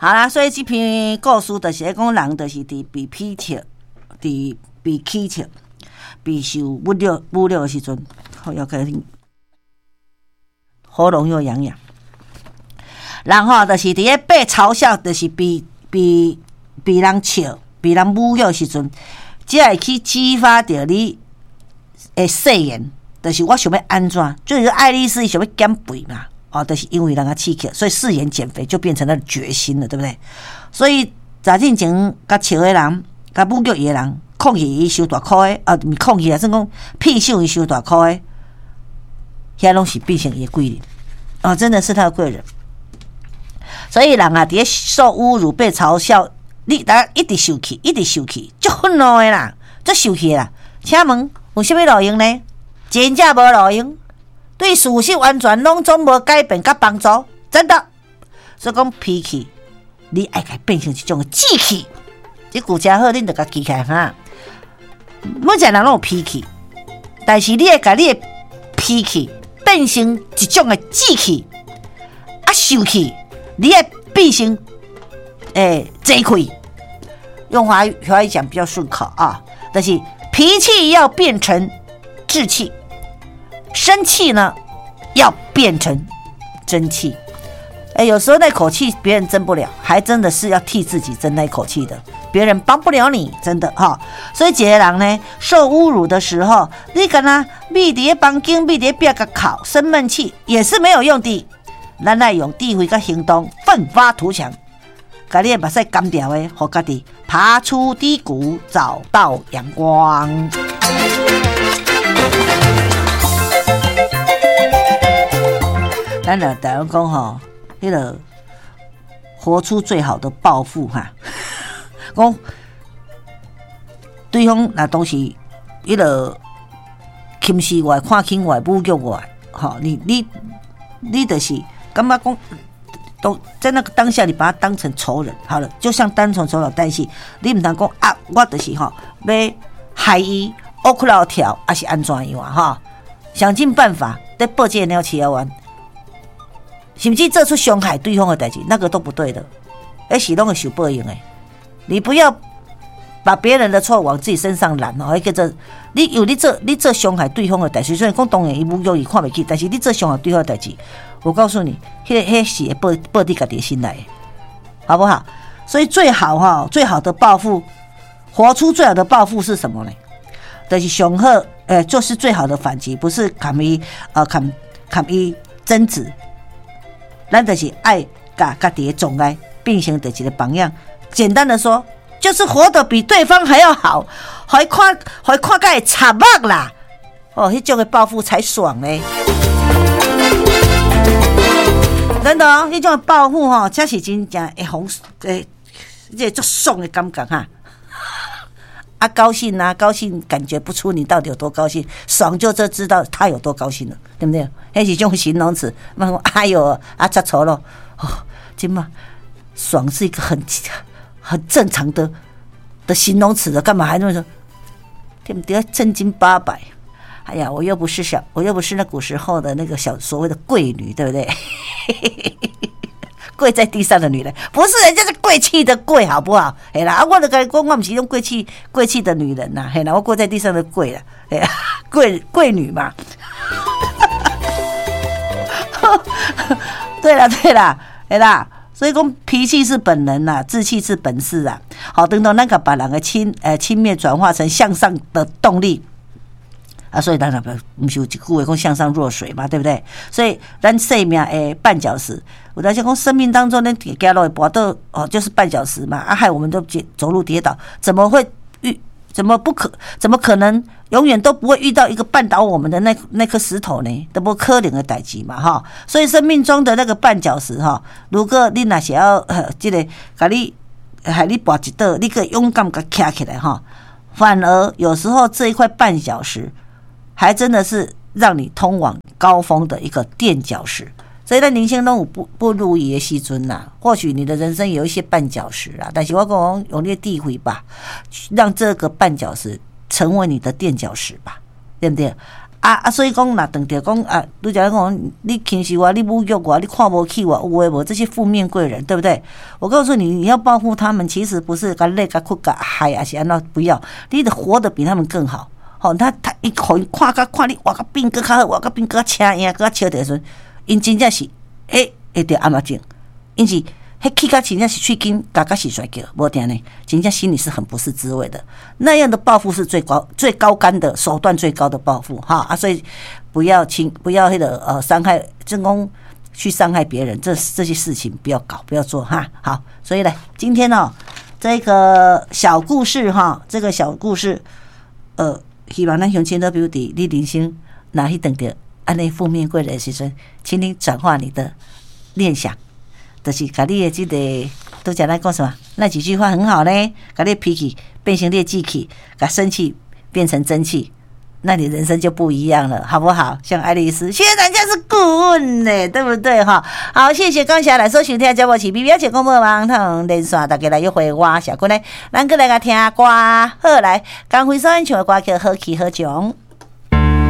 好啦，所以這篇故事就是咧講人就是佇被鄙笑，佇被取笑，被受侮辱侮辱的時陣，好要開喉嚨又癢癢。人吼，就是佇咧被嘲笑，就是被人笑、被人侮辱的時陣，才會去激發著你的誓言，就是我想欲按怎，就是愛麗絲想欲減肥嘛，哦，就是因為人共刺激，所以誓言減肥就變成了決心了，對不對？所以早進前共笑的人，共侮辱伊的人，控制伊傷大箍的，啊，毋是控制啊，算講騙受伊傷大箍的，遐攏是變成伊的貴人，哦，真的是他的貴人。所以人啊，佇咧受侮辱、被嘲笑，你大家一直受氣，一直受氣，足憤怒的啦，足受氣的啦。請問有啥物路用呢？真正無路用，對事實完全攏總無改變佮幫助，真的。所以講脾氣，你愛共變成一種志氣。這句誠好，恁著共記起來哈。每一個人攏有脾氣，但是你愛共你的脾氣變成一種的志氣，啊，受氣，你愛變成濟氣。用華語華語講比較順口啊，但是脾氣要變成志氣，生氣呢要變成爭氣。欸，有時候那口氣別人爭不了，還真的是要替自己爭那口氣的，別人幫不了你，真的哈。所以一個人呢，受侮辱的時候，你敢若覕佇咧房間，覕佇咧壁共哭，生悶氣也是沒有用的。咱愛用智慧佮行動，奮發圖強，共你的目屎乾掉的，予家己爬出低谷，找到陽光。咱來台灣講吼，彼個活出最好的報復哈，講對方若當時彼個輕視我、看輕我、侮辱我，吼，你就是感覺講，都在那個當下，你把他當成仇人，好了，就像當成仇人，但是你毋通講啊，我就是吼欲害伊，烏窟老跳，抑是按怎樣啊？哈，想盡辦法咧報這個鳥飼仔灣。甚至做出傷害對方的代誌，那個都不對的，彼是攏會受報應的。你不要把別人的錯往自己身上攬哦，彼叫做你有你做傷害對方的代誌，雖然講當然伊侮辱伊看袂起，但是你做傷害對方的代誌，我告訴你，彼是會報佇家己身內，好不好？所以最好哈，最好的報復，活出最好的報復是什麼呢？就是上好，就是最好的反擊，不是共伊，共伊爭執。咱就是愛共家己的障礙變成著一個榜樣。簡單的說，就是活得比對方還要好，予伊看，予伊看甲會插目啦。哦，彼種的報復才爽呢。真的哦，彼種的報復吼，才是真正會予，這個足爽的感覺哈。啊，高興啊，高興，感覺不出你到底有多高興，爽就就知道他有多高興了，對不對？彼是種形容詞，嘛哎喲，啊，遮錯咯，哦，這嘛，爽是一個很正常的形容詞的，幹嘛還那麼說？對不對？正經八百。哎呀，我又不是那古時候的那個小所謂的貴女，對不對？跪在地上的女人，不是人家是貴氣的貴，好不好？嘿啦，啊，我就共你講，我毋是種貴氣貴氣的女人呐，嘿啦，我跪在地上的跪啦，嘿啦，貴貴女嘛。對啦對啦，嘿啦，所以講脾氣是本能啦，志氣是本事啊。好，等到咱共別人的輕蔑轉化成向上的動力。啊，所以咱也毋是有一句話講向上若水嘛，對不對？所以咱生命的絆腳石，有當時講生命當中呢，走路會跋倒哦，就是絆腳石嘛。啊，害我們都走路跌倒，怎麼會遇？怎麼不可？怎麼可能永遠都不會遇到一個絆倒我們的那顆石頭呢？都無可能的代誌嘛，哈。所以生命中的那個絆腳石，哈，如果你若是要這個共你害你跋一倒，你閣勇敢共徛起來，哈，反而有時候這一塊絆腳石，還真的是讓你通往高峰的一個墊腳石。所以咱人生攏有不如意的時陣啦，或許你的人生有一些絆腳石啊，但是我講用你的智慧吧，讓這個絆腳石成為你的墊腳石吧，對不對？啊啊，所以講若當著講啊，拄才講你輕視我，你侮辱我，你看無起我，有的無，這些負面貴人，對不對？我告訴你，你要報復他們，其實不是共咧共哭共害，還是按怎，不要，你得活得比他們更好。吼，他一看看甲看你活甲變閣較好，活甲變閣較請贏，閣較笑的時陣，𪜶真正是欸會著暗仔症，𪜶是彼氣甲真正是喙緊咬甲實跩叫，無定呢，真正心裡是很不是滋味的。那樣的報復是最高、最高竿的手段，最高的報復哈啊！所以不要輕，不要彼個傷害，正講去傷害別人，這些事情不要搞，不要做哈。好，所以呢，今天呢，這個小故事哈，這個小故事，希望咱鄉親都比如佇你人生若去碰著按呢負面貴人的時陣，請你轉化你的念想。就是共你的這個，拄才咱講什麼？那幾句話很好呢，共你脾氣變成你的志氣，共生氣變成真氣，那你人生就不一樣了，好不好？像愛麗絲，現在人家是顧問呢，對不對？哈，好，謝謝剛才來收聽節目是 B B 一廣播網通連線，大家來約會我小姑呢，咱閣來共聽歌，好來，江輝所演唱的歌曲《好戲好將》。